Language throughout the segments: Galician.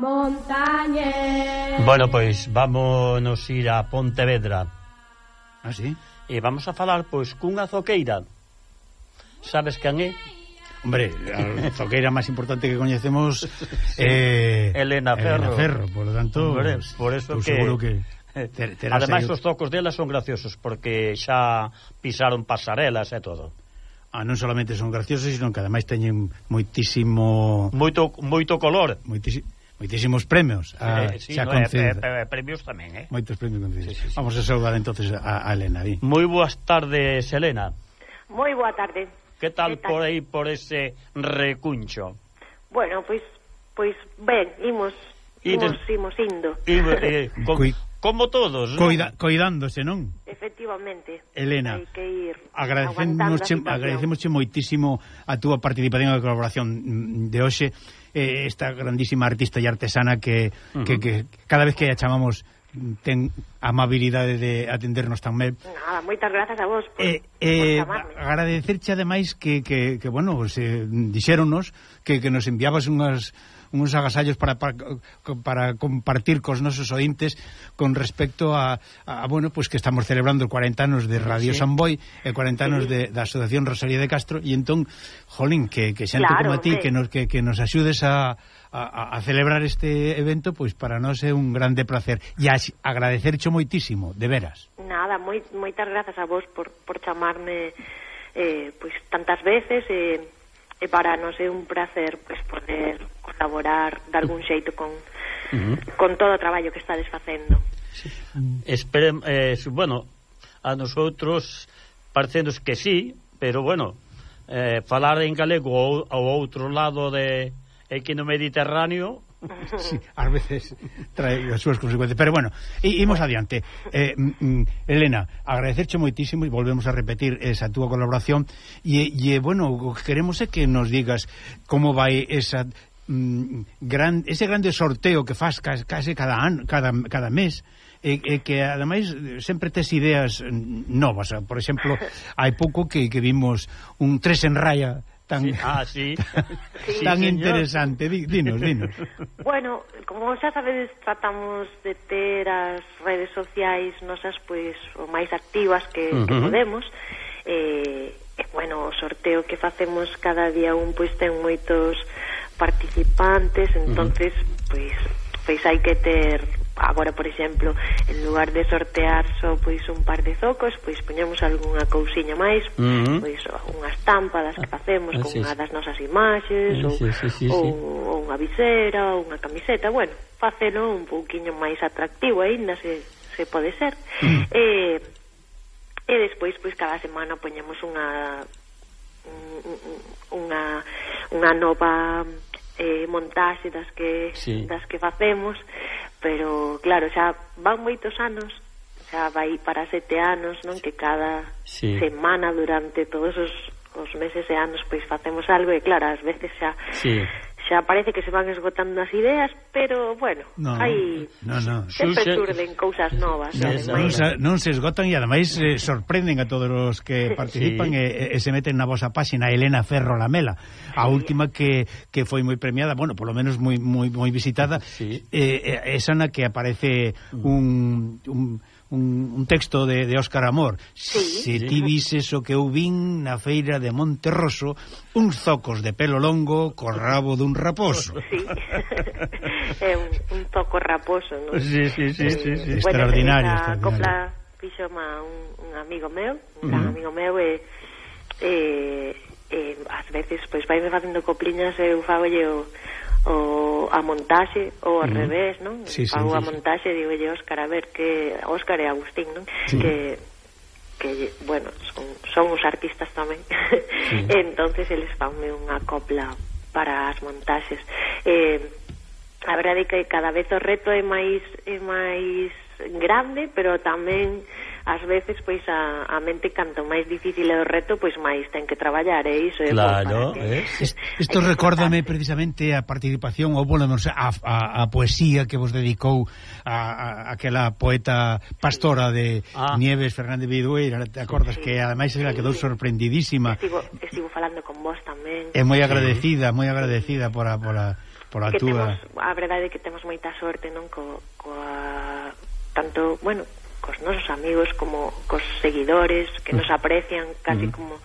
Montañés. Bueno, pois vámonos ir a Pontevedra. Ah, sí? E vamos a falar, pois, cunha zoqueira. Sabes quen é? Hombre, a zoqueira máis importante que coñecemos Elena Ferro. Por lo tanto, hombre, por eso que seguro que ademais os zocos dela son graciosos porque xa pisaron pasarelas e todo. Non solamente son graciosos, sino que ademais teñen moitísimo color, moitísimos premios sí, xa premios tamén, moitos premios concedidos. Sí. Vamos a saudar entonces a Elena. Moi boas tardes, Elena. Moi boa tarde. Que tal por aí, por ese recuncho? Bueno, pois ben, imos indo. Como todos, ¿no? Coidándose, non? Efectivamente. Elena, hai que ir agradecemosche moitísimo a túa participación e colaboración de hoxe, esta grandísima artista e artesana que cada vez que a chamamos ten amabilidade de atendernos tan ben. Nada, moitas grazas a vos por chamarme. Agradecerche ademais que bueno, dixéronnos que nos enviabas uns agasallos para compartir cos nosos ointes con respecto a bueno, pues que estamos celebrando 40 anos de Radio Samboy e 40 anos da Asociación Rosalía de Castro, e entón, jolín, que xente como a ti que nos axudes a celebrar este evento, pois para nós é un grande placer e agradecercho moitísimo, de veras. Nada, moitas grazas a vos por chamarme pois tantas veces e para nós é un placer pois poder colaborar de algún xeito con todo o traballo que estades facendo. Sí. Bueno, a nosotros parecenos que sí, pero bueno, falar en galego ao outro lado aquí no Mediterráneo, sí, ás veces trae as súas consecuencias, pero bueno, imos adiante. Elena, agradecerche moitísimo e volvemos a repetir esa túa colaboración e bueno, o que queremos é que nos digas como vai ese grande sorteo que faz case cada mes, e que ademais sempre tes ideas novas. Por exemplo, hai pouco que vimos un 3 en raya tan interesante. Dinos. Bueno, como xa sabedes, tratamos de ter as redes sociais nosas pois o máis activas que podemos. Bueno, o sorteo que facemos cada día pois ten moitos participantes, entonces pois hai que ter. Agora, por exemplo, en lugar de sortear só pois un par de zocos, pois poñemos algunha cousiña máis, pois unha estampa das que facemos con unha das nosas imaxes, ou unha visera, ou unha camiseta, bueno, facelo un pouquiño máis atractivo aínda, se pode ser. E despois, pois cada semana poñemos unha nova montaxe das que facemos, pero claro, xa van moitos anos, xa vai para 7 anos, non? Que cada semana durante todos os meses e anos pois facemos algo, e claro, ás veces xa parece que se van esgotando as ideas, pero bueno, sempre surden cousas novas. Non se esgotan e ademais sorprenden a todos os que participan e se meten na vosa páxina. Elena Ferro Lamela, a última que foi moi premiada, bueno, polo menos moi visitada, esa na que aparece un texto de Óscar Amor. Se ti vises o que eu vin na feira de Monterroso, uns zocos de pelo longo co rabo dun raposo. Sí. É un zoco raposo, non? Sí. Extraordinario. Bueno, a copla fixoma un amigo meu, e ás veces pois vai me facendo copliñas e eu fagolle a montaxe ou ao revés, non? Fago a montaxe e digo Óscar, a ver, que Óscar e Agustín, non? Que bueno, son os artistas tamén. Entonces eles fanme unha copla para as montaxes. A verdade é que cada vez o reto é máis grande, pero tamén ás veces pois a mente canto máis difícil é o reto, pois máis ten que traballar, e iso é claro, isto recórdame precisamente a participación ou a poesía que vos dedicou a aquela poeta pastora de Nieves Fernández Vidueira, te acordas que ademais ela quedou sorprendidísima. Estivo falando con vos tamén. É moi agradecida por por a que túa... a verdade é que temos moita sorte, non, coa tanto, bueno, cos nosos amigos como cos seguidores que nos aprecian casi como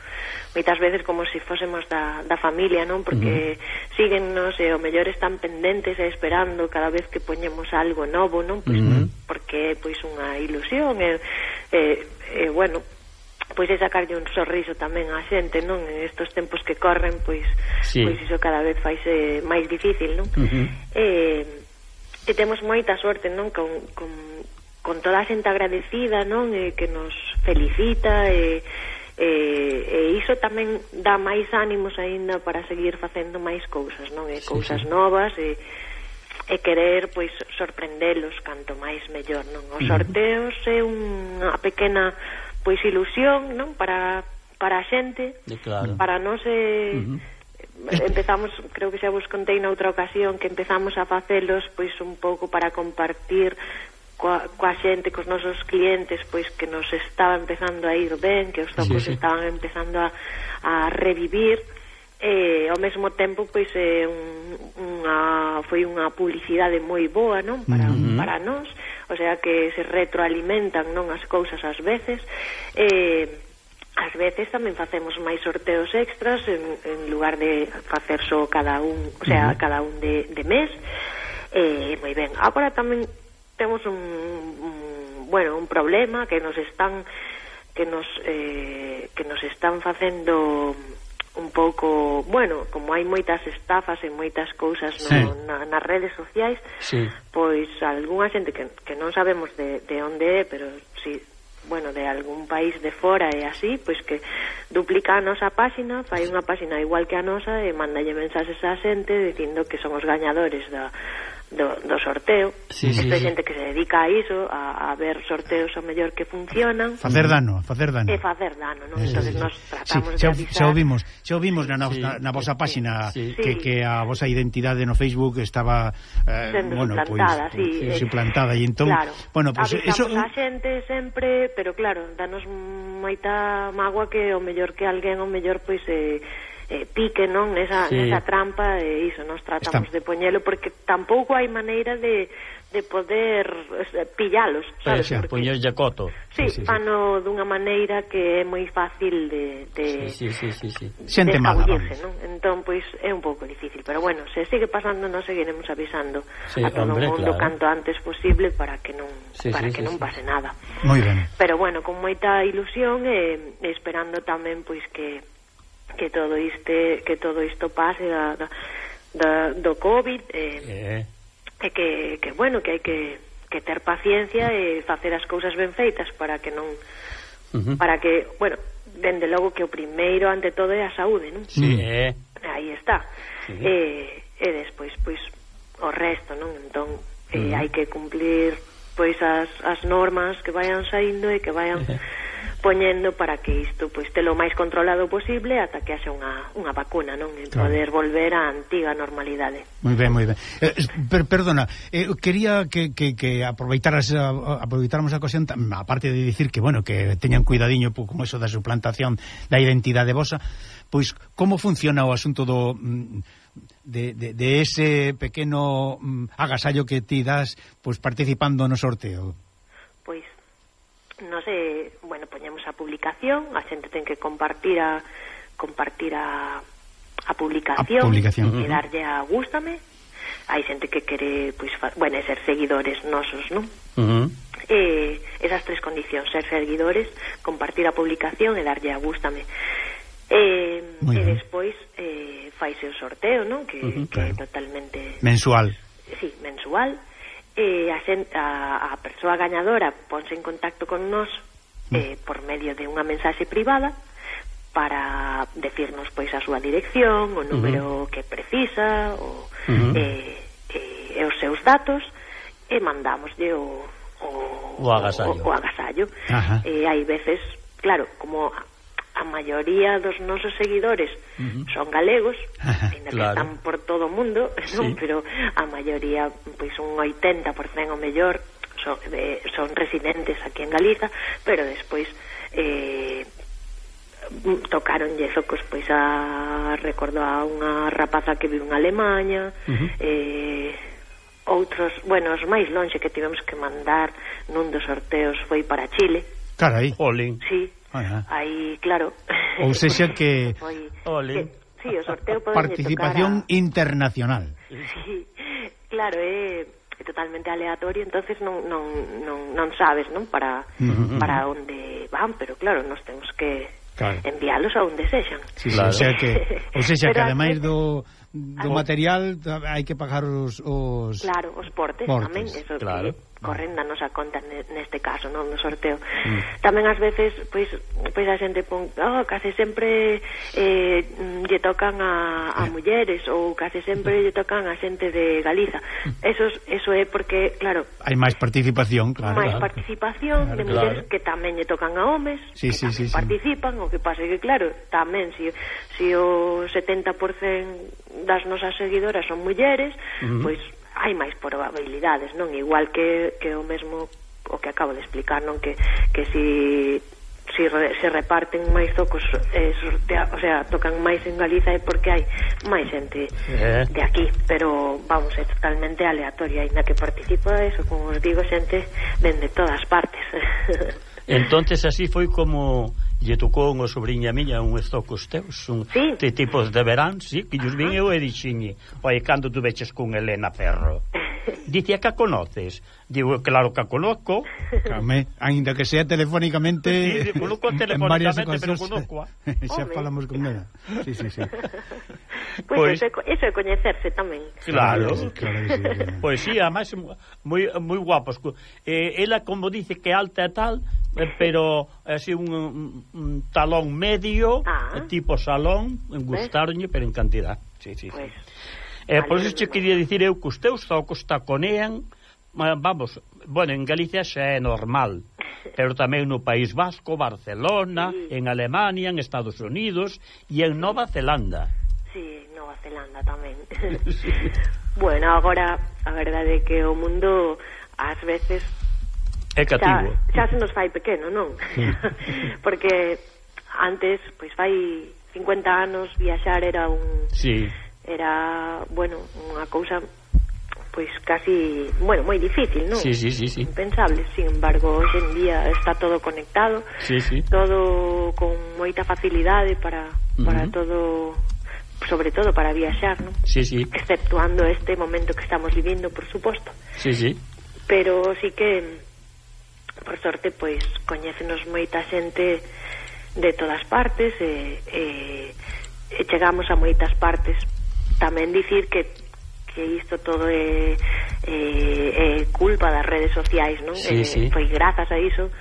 moitas veces como se fósemos da familia, non? Porque síguennos e o mellor están pendentes e esperando cada vez que poñemos algo novo, non? Pois porque é pois unha ilusión e bueno, pois é sacarlle un sorriso tamén á xente, non? En estos tempos que corren, pois pois iso cada vez faise máis difícil, non? E temos moita sorte, non? Con toda a xente agradecida, non? Que nos felicita e iso tamén dá máis ánimos aínda para seguir facendo máis cousas, non? E cousas novas e querer, pois, sorprendelos canto máis mellor, non? Os sorteos é unha pequena, pois, ilusión, non? Para a xente, para nós empezamos, creo que xa vos contei noutra ocasión que empezamos a facelos, pois, un pouco para compartir coa xente, cos nosos clientes, pois que nos estaba empezando a ir ben, que os zocos estaban empezando a revivir, e ao mesmo tempo pois foi unha publicidade moi boa, non? Para nós, o sea que se retroalimentan, non, as cousas ás veces, ás veces tamén facemos máis sorteos extras en lugar de facer só cada un, o sea, cada un de mes, moi ben. Agora tamén temos un problema que nos están facendo un pouco, bueno, como hai moitas estafas e moitas cousas nas redes sociais, pois algunha xente que non sabemos de onde é, pero si, bueno, de algún país de fora e así, pois que duplica a nosa páxina, fai unha páxina igual que a nosa e mandalle mensaxes á xente dicindo que son os gañadores do sorteo. Esta xente que se dedica a iso, a ver sorteos o mellor que funcionan, facer dano, e facer dano, non? Entonces nos tratamos de avisar. Xa o vimos na vosa páxina que a vosa identidade no Facebook estaba sendo suplantada, suplantada, e entón, bueno, pues avisamos a xente sempre, pero claro, danos moita mágoa que o mellor que alguén o mellor pois pique, non, nesa trampa, e iso nos tratamos de poñelo porque tampouco hai maneira de poder pillalos, sabes? Poñerlle coto. Fano dunha maneira que é moi fácil de xente mala, non? Entón, pois, é un pouco difícil, pero bueno, se sigue pasando, nos seguiremos avisando a todo o mundo canto antes posible para que non pase nada. Moi ben. Pero bueno, con moita ilusión e esperando tamén, pois, que todo isto pase do COVID e que bueno, que hai que ter paciencia e facer as cousas ben feitas para que non para que, bueno, dende logo que o primeiro ante todo é a saúde, non? Aí está. E despois, pois, o resto, non? Entón, hai que cumplir, pois, as normas que vayan saindo e que vayan poñendo para que isto, pois, telo máis controlado posible ata que haxa unha vacuna, non? E poder volver á antiga normalidade. Moi ben, moi ben. Perdona, quería que aproveitáramos a ocasión, aparte de dicir que, bueno, que teñan cuidadiño con eso da suplantación da identidade vosa, pois, como funciona o asunto de ese pequeno agasallo que ti das, pois, participando no sorteo? Pois, non sei, bueno, poñemos a publicación, a xente ten que compartir a publicación e darlle a gústame. Hai xente que quere, pois, ser seguidores nosos, non? Esas tres condicións, ser seguidores, compartir a publicación e darlle a gústame. E despois faise o sorteo, non? Que é totalmente mensual. Sí, mensual. A persoa gañadora ponse en contacto con nós por medio de unha mensaxe privada para decirnos, pois, a súa dirección, o número que precisa, e os seus datos, e mandámoslle o agasallo. Hai veces, claro, como a maioría dos nosos seguidores son galegos, ainda que están por todo o mundo, non? Pero a maioría, pois, un 80% o mellor son residentes aquí en Galiza, pero despois tocaronlle zocos, pois, a recordo a unha rapaza que vive en Alemanha, outros, bueno, os máis lonxe que tivemos que mandar nun dos sorteos foi para Chile. Carai. Olín. Sí, aí, claro. Ou sexa que... Olín. Sí, o sorteo participación internacional. Sí, claro, é totalmente aleatorio, entonces non sabes, non, para onde van, pero claro, nos temos que enviálos a onde sexan. Sí, claro. O sea que ademais do material hai que pagar os claro, os portes. Tamén, eso claro. Corren danos a conta neste caso, non, no sorteo. Tamén ás veces pois a xente pon, case sempre lle tocan a mulleres, ou case sempre lle tocan a xente de Galiza. Eso é porque, claro, hai máis participación, claro. Máis participación de mulleres que tamén lle tocan a homes, que tamén participan, o que pasa é que, claro, tamén se o 70% das nosas seguidoras son mulleres, pois hai máis probabilidades, non? Igual que o mesmo o que acabo de explicar, non? Que se reparten máis zocos, o sea, tocan máis en Galiza é porque hai máis xente de aquí, pero vamos, é totalmente aleatoria, ainda que participa eso, como os digo, xente dende todas partes. Entonces así foi como lle tocou unha sobrinha miña uns zocos teus, de tipos de verán, sí, que lles vin eu e dixinlle, oi, cando tu veches con Elena Ferro? Dicía que a conoces. Digo, claro que a conozco. Ainda que sea telefónicamente. Sí, conozco telefónicamente, pero conozco. Xa falamos con ela. Sí. Pois eso é coñecerse tamén. Claro. Claro que sí. Pois sí, además moi guapos. Ela, como dice que alta e tal, pero así un talón medio, tipo salón, gustaronlle, pero en cantidad. Sí. Pues, por iso che quería dicir eu que os teus zocos taconean, vamos, bueno, en Galicia xa é normal, pero tamén no País Vasco, Barcelona, en Alemania, en Estados Unidos e en Nova Zelanda. Sí, Nova Zelanda tamén. Bueno, agora a verdade é que o mundo ás veces é cativo. Xa se nos fai pequeno, non? Porque antes, pois fai 50 anos viaxar era bueno, unha cousa pois casi, bueno, moi difícil, non? Sí. Impensable. Sin embargo, hoxe en día está todo conectado, todo con moita facilidade para todo, sobre todo para viaxar, non? Sí. Exceptuando este momento que estamos vivindo, por suposto. Sí. Pero sí que por sorte, pois coñécenos moita xente de todas partes e chegamos a moitas partes. Tamén dicir que isto todo é culpa das redes sociais, non? Sí. Foi grazas a iso,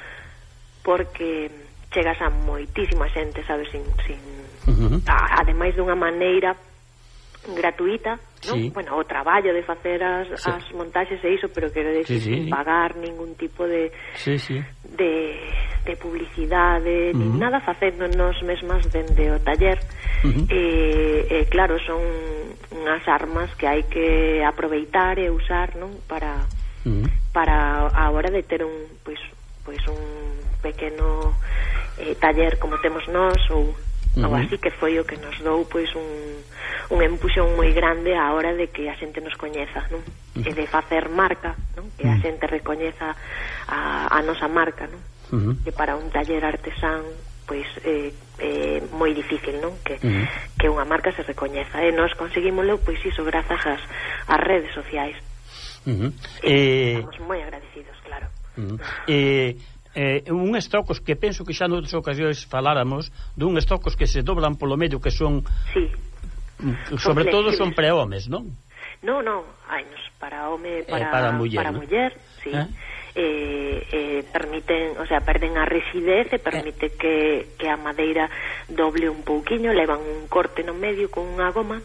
porque chegas a moitísima xente, sabes, ademais dunha maneira gratuita, non? Sí. Bueno, o traballo de facer as montaxes e iso, pero quero decir, sin pagar ningún tipo de publicidade, ni nada, facéndonos mesmas dende o taller. Claro, son unhas armas que hai que aproveitar e usar, non? Para a hora de ter un pequeno taller como temos nós, ou así, que foi o que nos dou pois un empuxón moi grande á hora de que a xente nos coñeza, non? E de facer marca, non? Que a xente recoñeza a nosa marca, non? Que para un taller artesán pois é moi difícil, non? Que unha marca se recoñeza, e nós conseguímoslo pois iso grazas ás redes sociais. Estamos moi agradecidos, claro. Un estocos que penso que xa noutras ocasións faláramos dun estocos que se doblan polo medio, que son sobre todo son para homes, non? Non, hainos para home, para muller, sí. Permiten, o sea, perden a rigidez e permite que a madeira doble un pouquiño, levan un corte no medio con unha goma.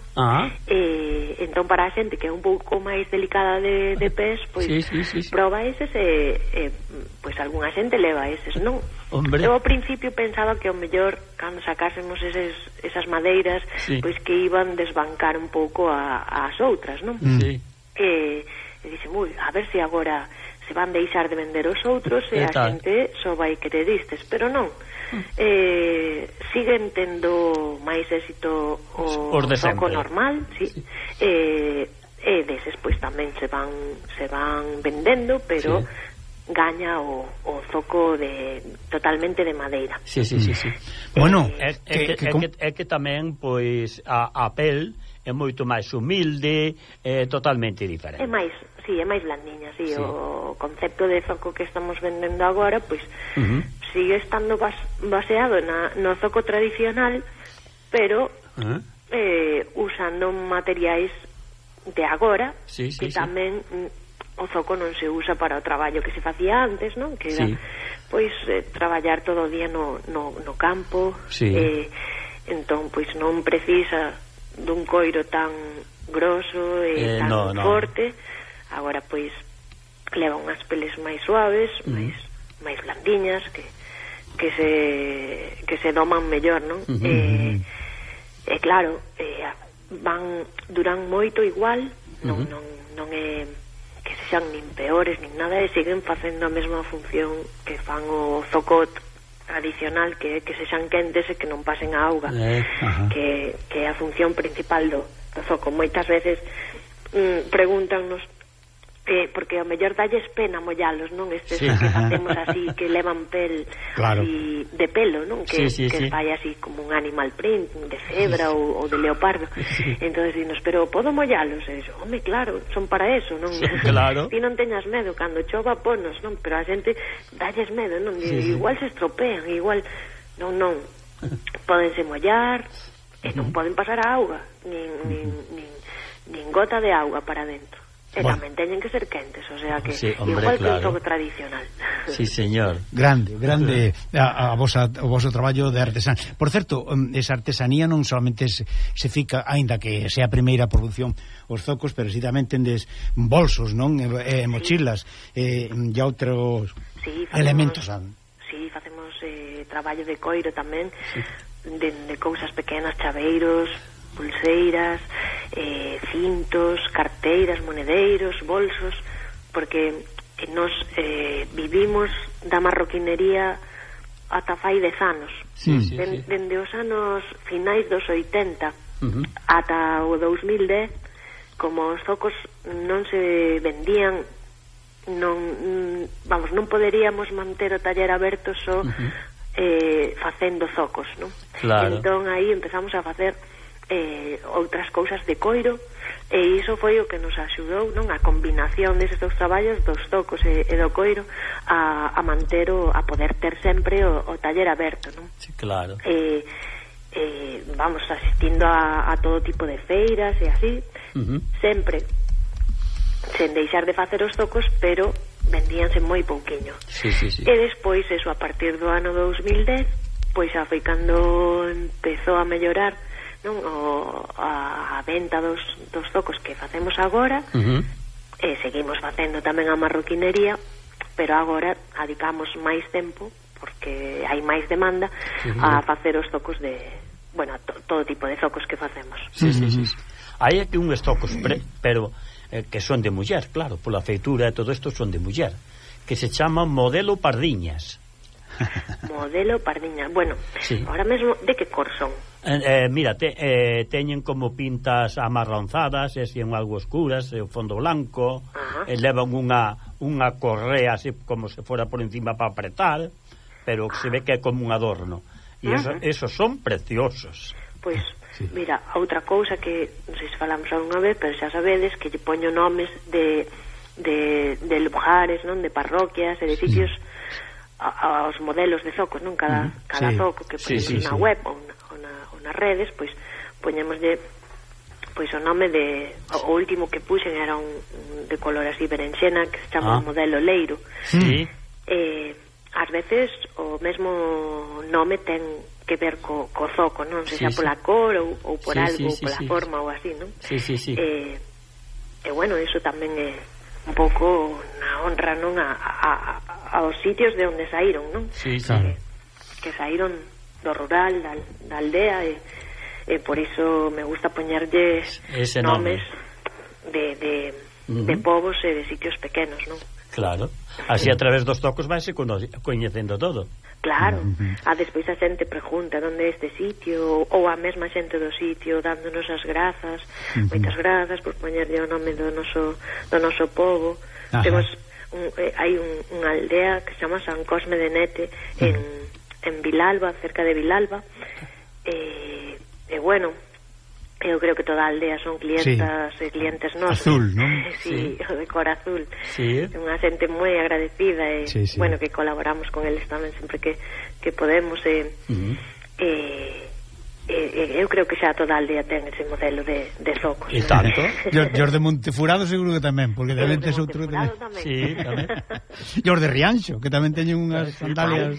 Entón para a xente que é un pouco máis delicada de pés, pois proba eses e pois algunha xente leva eses, non? Hombre. Eu ao principio pensaba que o mellor cando sacásemos esas madeiras, pois que iban desbancar un pouco as outras, non? E dixen, a ver se agora se van deixar de vender os outros e a xente só vai querer istes, pero non. siguen tendo máis éxito o zoco normal, sí. Deses pois tamén se van vendendo, pero gaña o zoco totalmente de madeira. Sí. Bueno, é que tamén pois a pel é moito máis humilde, totalmente diferente. É máis blandiña, sí. O concepto de zoco que estamos vendendo agora, pois sigue estando baseado no zoco tradicional, pero usando materiais de agora, que tamén o zoco non se usa para o traballo que se facía antes, non? Que era, pois, traballar todo o día no campo, entón, pois, non precisa dun coiro tan grosso e tan forte. Agora, pois, leva unhas peles máis suaves, máis blandiñas, que se doman mellor, non? E claro, duran moito igual, non é que sexan nin peores nin nada, e siguen facendo a mesma función que fan o zoco tradicional, que sexan quentes e que non pasen a auga, que é a función principal do zoco. Moitas veces pregúntanos porque ao mellor dalles pena mollalos, non? Estes que facemos así, que levan pel así, de pelo, non? Que fai así como un animal print de cebra ou de leopardo. Entonces dinos, pero podo mollalos? E dixo, home, claro, son para eso, non? Ti non teñas medo, cando chova ponos, non? Pero a xente dalles medo, non? Igual se estropean, igual non pódense mollar e non poden pasar a auga, nin gota de auga para dentro. E tamén teñen que ser quentes, o sea que igual que un zoco tradicional. Sí, señor. Grande o voso traballo de artesán. Por certo, esa artesanía non solamente se fica, aínda que sea a primeira produción os zocos, pero si tamén tendes bolsos, non? Mochilas e outros elementos. Sí, facemos traballo de coiro tamén, de cousas pequenas, chaveiros, pulseiras, cintos, carteiras, monedeiros, bolsos, porque nos vivimos da marroquinería ata fai 10 anos. Dende os anos finais dos 80 ata o 2010, como os zocos non se vendían, non poderíamos manter o taller aberto só facendo zocos, non? Entón aí empezamos a facer outras cousas de coiro, e iso foi o que nos axudou, non? A combinación deses dous traballos, dos zocos e do coiro, a manter a poder ter sempre o taller aberto, non? Sí, claro. Vamos asistindo a todo tipo de feiras e así, sempre sen deixar de facer os zocos, pero vendíanse moi pouquiño. E despois, eso, a partir do ano 2010, pois xa foi cando empezou a mellorar, non? A venta dos zocos que facemos agora, e seguimos facendo tamén a marroquinería, pero agora adicamos máis tempo, porque hai máis demanda, a facer os zocos de, bueno, todo tipo de zocos que facemos. Hai aquí uns zocos pero que son de muller, claro, pola feitura e todo isto son de muller, que se chaman modelo pardiñas. Modelo pardiñas. Bueno, ahora mesmo, de que cor son? Mira, teñen como pintas amarronzadas, e son algo oscuras, e o fondo blanco, levan unha correa así como se fora por encima para apretar, pero que se ve que é como un adorno, e esos son preciosos. Pois, mira, outra cousa que non sei se falamos algunha vez, pero xa sabedes que lle poño nomes de lugares, non? De parroquias e de sitios aos modelos de zocos, non? Cada zoco que poñemos na web ou nas redes, pois poñémoslle pois o nome de o último que puxen era un de color así berenxena, que se chama modelo leiro. Ás veces o mesmo nome ten que ver co zoco, non? Se xa pola cor ou por algo, pola forma ou así, non? E bueno, iso tamén é un pouco na honra, non? Aos sitios de onde saíron, non? Que saíron do rural, da aldea, e por iso me gusta poñerlles nomes de povos e de sitios pequenos, non? Claro, así a través dos tocos vaise coñecendo todo. Claro, despois a xente pregunta onde é este sitio, ou a mesma xente do sitio dándonos as grazas, moitas grazas por poñerlle o nome do noso povo. Temos hai unha aldea que se chama San Cosme de Nete en Vilalba, cerca de Vilalba, e bueno, eu creo que toda a aldea son clientas e clientes nosos. Azul, non? Sí, o de cor azul. Sí. Unha xente moi agradecida e, bueno, que colaboramos con eles tamén sempre que podemos eu creo que xa toda a aldea ten ese modelo de zocos. E tanto. E os de Montefurado seguro que tamén, porque tamén tes outro tamén. Sí, tamén. E os de Rianxo, que tamén teñen unhas sandalias.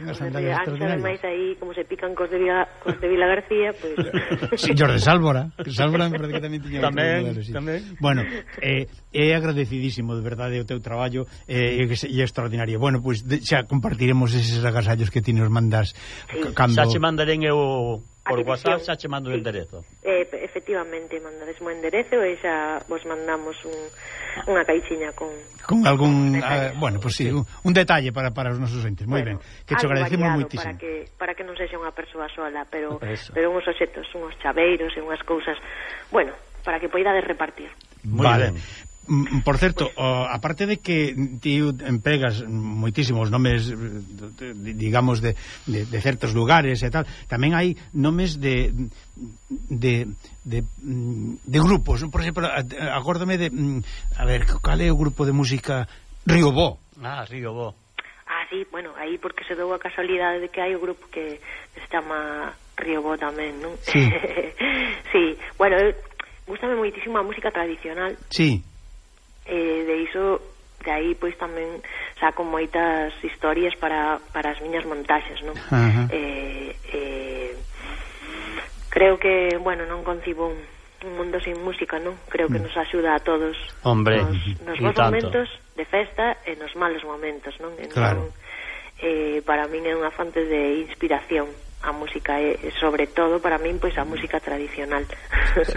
Unhas sandalias extraordinarias. Ademais aí, como se pican cos de Vila García, pois... Sí, e os de Sálvora. Sálvora me parece que tamén teñen outro modelo, sí. Tamén. Bueno, é agradecidísimo, de verdade, o teu traballo e é extraordinario. Bueno, pois xa compartiremos eses agasallos que ti nos mandas cando... Xa che mandarén eu... Por WhatsApp xa che mando o enderezo. Efectivamente, mandades o enderezo e xa vos mandamos unha caixinha con algún bueno, pues sí, un detalle para os nosos entes. Moi ben, que te agradecemos moitísimo. Para que non sexa unha persoa sola, pero uns obxectos, uns chaveiros e unhas cousas, bueno, para que poidades repartir. Vale. Por certo, aparte de que ti empregas moitísimos nomes, digamos, de certos lugares e tal, tamén hai nomes de grupos. Por exemplo, acórdame de... A ver, cal é o grupo de música? Riobó. Riobó. Sí, bueno, aí porque se dou a casualidade de que hai o grupo que se chama Riobó tamén, non? Sí. Sí, bueno, gústame moitísimo a música tradicional. Sí. De iso, de aí pois tamén saco moitas historias para as miñas montaxes, non? Creo que, bueno, non concibo un mundo sin música, non? Creo que nos axuda a todos. Hombre, nos bons momentos de festa e nos malos momentos, non? Claro. Para min é unha fonte de inspiración a música e sobre todo para min pois a música tradicional.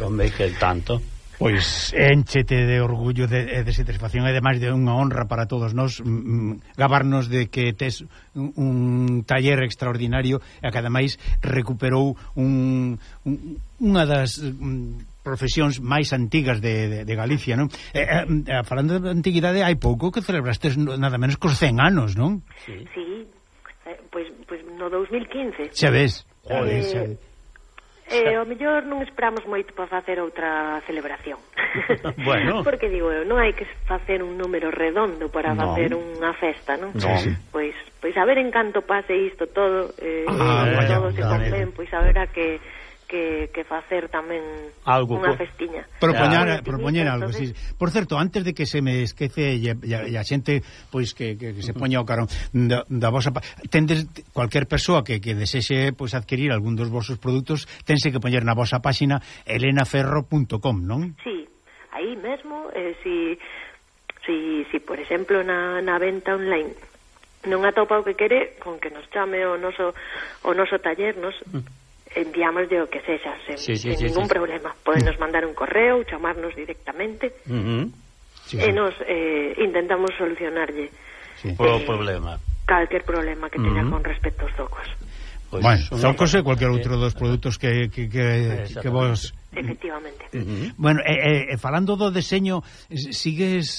Hombre, que tanto. Pois énchete de orgullo de satisfacción e ademais de unha honra para todos nós gabarnos de que tes un taller extraordinario e que ademais recuperou unha das profesións máis antigas de Galicia, non? Falando de antiguidade, hai pouco que celebrastes nada menos cos 100 anos, non? Sí, pois no 2015. Xa ves. Joder, o mellor non esperamos moito para facer outra celebración. Bueno. Porque digo eu, non hai que facer un número redondo para facer unha festa, non? Pois a ver en canto pase isto todo, todo se conven, pois a ver a que facer tamén unha festiña. Propoñer algo, sí. Por certo, antes de que se me esquece e a xente pois que se poña ao carón da vosa... Tendes cualquier persoa que desexe pois adquirir algún dos vosos produtos, tense que poñer na vosa páxina elenaferro.com, non? Sí, aí mesmo, si por exemplo na venta online non atopa o que quere, con que nos chame o noso taller, nos enviamos o que sexa sen ningún problema. Podenos mandar un correo, chamarnos directamente e nos intentamos solucionarlle o problema, calquer problema que teña con respecto aos zocos. Bueno, zocos e cualquier outro dos produtos que vos... Efectivamente. Bueno, falando do deseño, sigues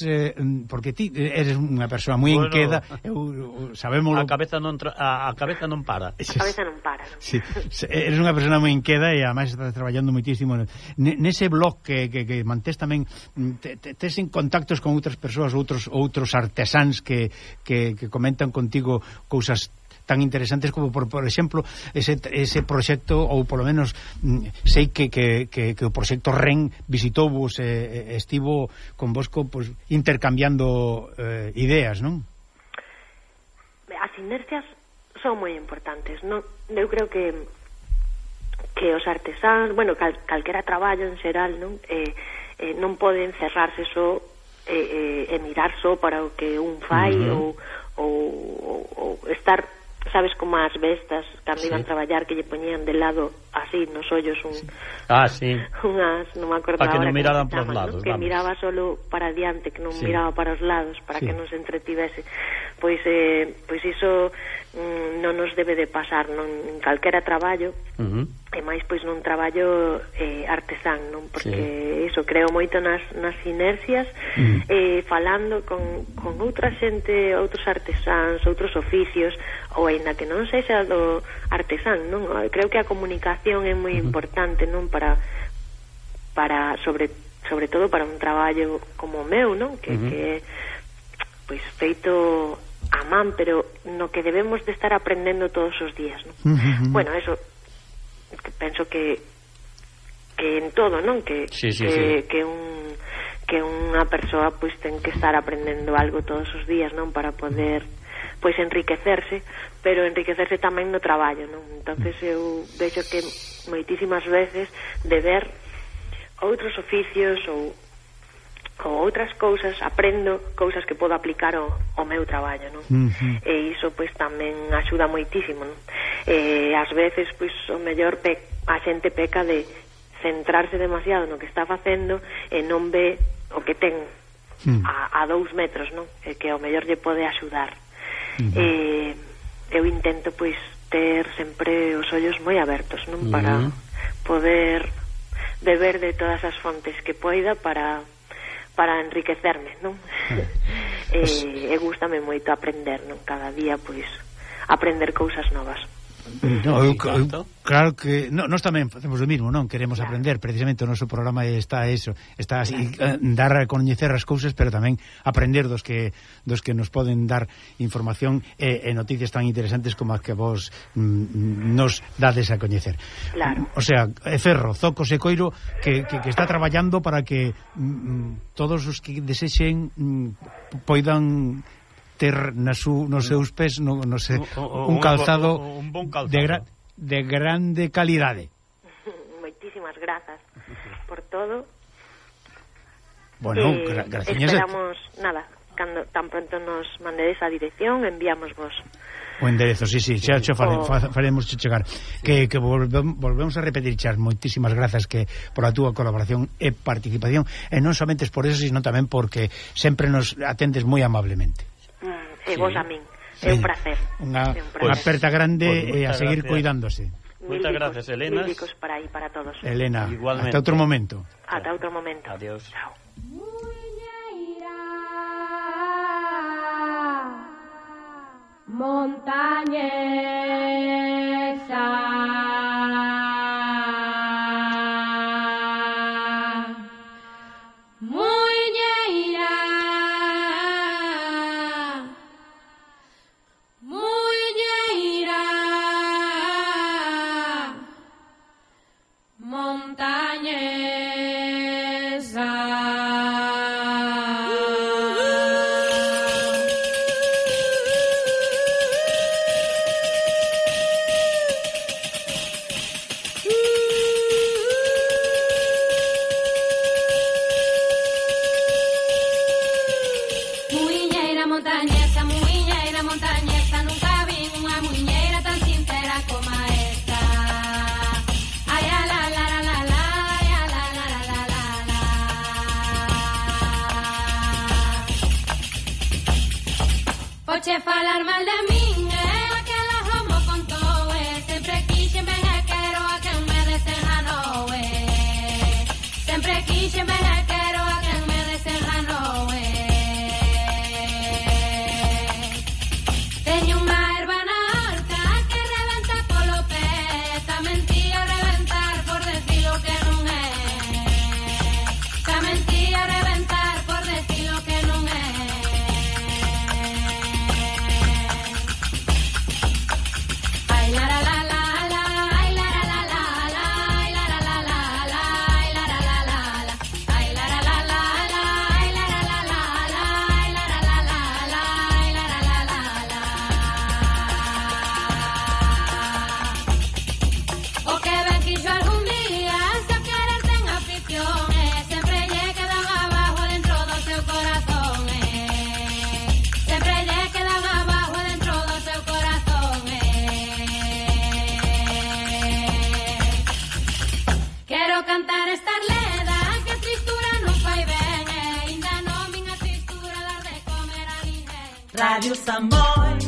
porque ti eres unha persoa moi inqueda, sabémolo. A cabeza non para. A cabeza non para. Sí, eres unha persoa moi inqueda e ademais estás traballando moitísimo nese blog que mantés tamén, tes en contactos con outras persoas, outros artesáns que comentan contigo cousas tan interesantes como por exemplo ese proxecto, ou polo menos sei que o proxecto REN visitou-vos estivo convosco pues, intercambiando ideas, non? As inercias son moi importantes, non? Eu creo que os artesáns, bueno, calquera traballo en xeral, non? Non poden cerrarse só e mirar só para o que un fai ou estar, sabes, como as bestas cando iban traballar, que lle poñían de lado así nos ollos sí. unhas, non me acordo para que non miraran para os lados, que vamos. miraba solo para diante, que non miraba para os lados, para que non se entretivese. Pois iso non nos debe de pasar en calquera traballo, e máis pois nun traballo artesán, non? Porque iso creo moito nas inercias, falando con outra xente, outros artesáns, outros oficios, ou aínda que non sexa do artesán, non? Creo que a comunicación é moi importante, non? Para sobre todo para un traballo como o meu, non? Que pois feito a man, pero no que debemos de estar aprendendo todos os días, non? Bueno, eso penso que en todo, non? Que unha persoa pois ten que estar aprendendo algo todos os días, non? Para poder pois enriquecerse, pero enriquecerse tamén no traballo, non? Entonces eu vexo que moitísimas veces de ver outros oficios ou outras cousas, aprendo cousas que podo aplicar ao meu traballo, non? E iso pois tamén axuda moitísimo, non? Ás veces pois o mellor a xente peca de centrarse demasiado no que está facendo e non ve o que ten a 2 metros, non? E que ao mellor lle pode axudar. Eu intento pois ter sempre os ollos moi abertos, non? Para poder beber de todas as fontes que poida para enriquecerme, non? E gústame moito aprender, non? Cada día, pois, aprender cousas novas. Claro que nós tamén facemos o mismo, non? Queremos aprender, precisamente o noso programa está así, dar a coñecer as cousas, pero tamén aprender dos que nos poden dar información e noticias tan interesantes como as que vos nos dades a coñecer. Claro. O sea, Ferro, Zocos e Coiro que está traballando para que todos os que desexen poidan ter nos seus pés un calzado, un bon calzado de grande calidade. Moitísimas grazas por todo. Bueno, gracias. Esperamos, cando tan pronto nos mandedes a dirección, enviamos vos o enderezo, sí, xa faremos chegar. Que volvemos a repetir, Chas, moitísimas grazas que por a túa colaboración e participación, e non somente por eso, sino tamén porque sempre nos atendes moi amablemente. E vos a min, é un placer. Unha aperta grande e a seguir cuidándose. Moitas gracias, Elena. Mil para aí, para todos. Elena, igualmente. Hasta outro momento. Ata outro momento. Adiós. Chao. Montañesa Oche falar mal de min, que la homo con todo, sempre quixen ben e quero a quen me desenganou, sempre quixen ben e quero a quen me desenganou, teño unha erva na horta que rebenta polo pé, xa mentía reventar por decir o que non é, xa mentía reventar por decir o que non é. Ay, la, Radio Samboy.